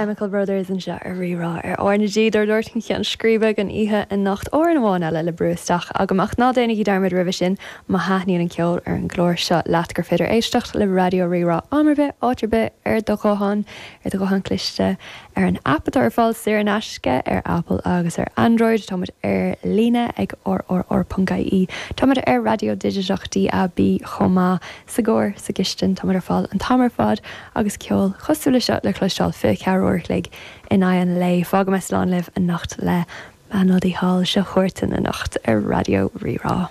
Chemical Brothers anseo ar Rí-Rá ar R na G dár dtabhairt chun ceann scríbe don oíche anocht. Amhrán amháin eile le brú isteach agam ach ná déanaigí dearmad roimhe sin má thaitníonn an ceol ar an gclár seo leat gur féidir éisteacht le Raidió Rí-Rá am ar bith, áit ar bith ar do ghuthán, ar do ghuthán cliste, ar an aip atá ar fáil saor in aisce ar Apple agus ar Android. Tá muid ar líne ag rrr.ie. Tá muid ar raidió digiteach DAB chomh maith. Sa gcarr, sa gcistin, tá muid ar fáil an t-am ar fad agus ceol cosúil le seo le cloisteáil 24 uair a chloig in aghaidh an lae. Fágfaidh mé slán libh anocht le Bean Udaí Thall. Seo Huartan anocht ar Raidió Rí-Rá.